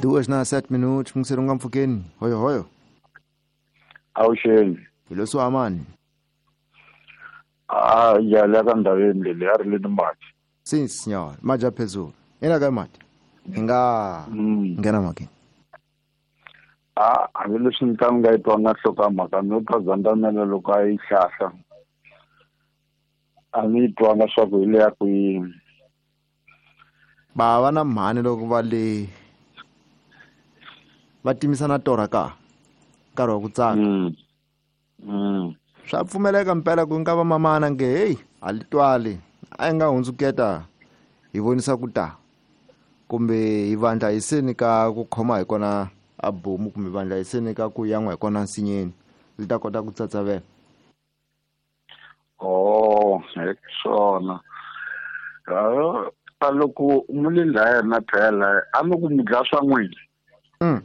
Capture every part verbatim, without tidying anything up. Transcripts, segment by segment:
Duas na sete minutos mungiseri u nga mpfhukeni hoyo hoyo awuxeni hi leswi amani a ya la ka ndhaveni leyi a ri le ni mati sim senhor maja phezulu ina ka mati hi nga nghena mhakeni a hambileswi ni ka ni nga yi twanga nhloko ya mhaka ni twa zandamela loko a yi hlahla a ni yi twanga swa ku hi le ya kwini bava na mhani loko va le va timisana torha ka nkarhi wa ku tsaka Mm. Mm. swa pfumeleka mpela ku nga va mamana nge heyi a li twali a yi nga hundzuketa hi vonisa ku ta kumbe hi vandla hi seni ka ku khoma hi kona a bomu kumbe vandla hi seni ka ku yan'wa hi kona nsinyeni li ta kota ku tsatsavela Oh, hi swona. Ah, ta loko mu le laya na phela a mi ku mi dlaya swa n'wina mm.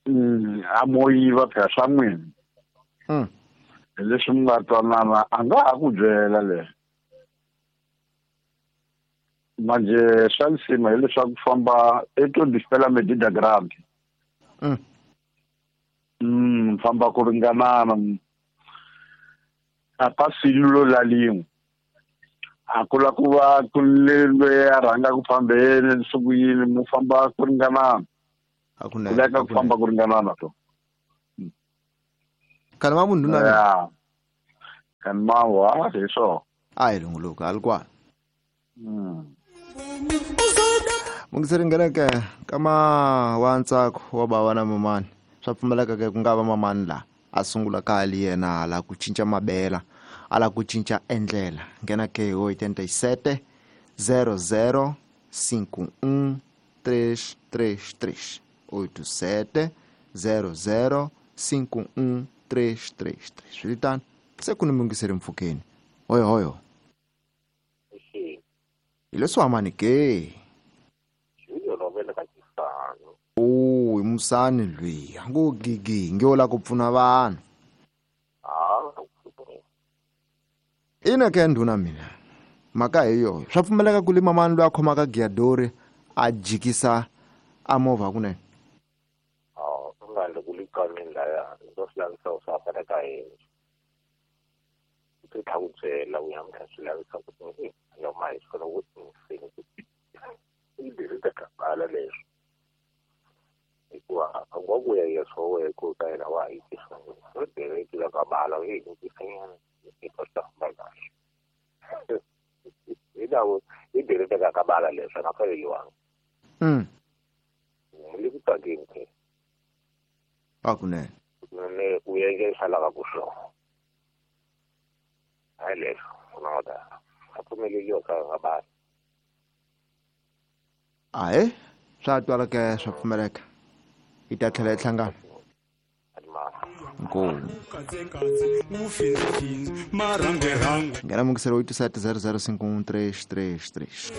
Mm, a mo yiva phela swa n'wina mm. hi leswi mi nga twanana a nga ha ku byela le manje swa lisima hileswaku famba eto dispela medida grande mm. mm famba ku ringanana a ka silulo la lin'we a ku la ku va ku le loyi a rhanga ku fambeni swi ku yini mu famba ku ringanana a ku ku leka ku famba ku ringanana to khale ma munhu na ya kan ma wa hi swona a hi lunguluka a li kwala mm mungiseri ngheneke kama wa ntsako wa bava na mamani swa pfumeleka ke ku nga va mamani la a sungula ka ali yena a la ku cinca mabela a la ku cinca endlela nghena ke hi oitenta e sete zero zero cinco um três três três oito sete zero zero cinco um três três três swiritano se ku ni mungiseri mpfhukeni hoyo hoyo hi leswi hamani ke o hi musani lwiya ngo gigi nge wo la ku pfuna vanhu ina ke ndhuna mina mhaka hi yoyo swa pfumeleka ku le mamani loyi a khomaka giyadori a jikisa a movha kunene mm a kunene ahe swa twala ke swa pfumeleka hi ta tlhela hi hlangana inkomu nghena mungiselo oito sete zero zero cinco um três três três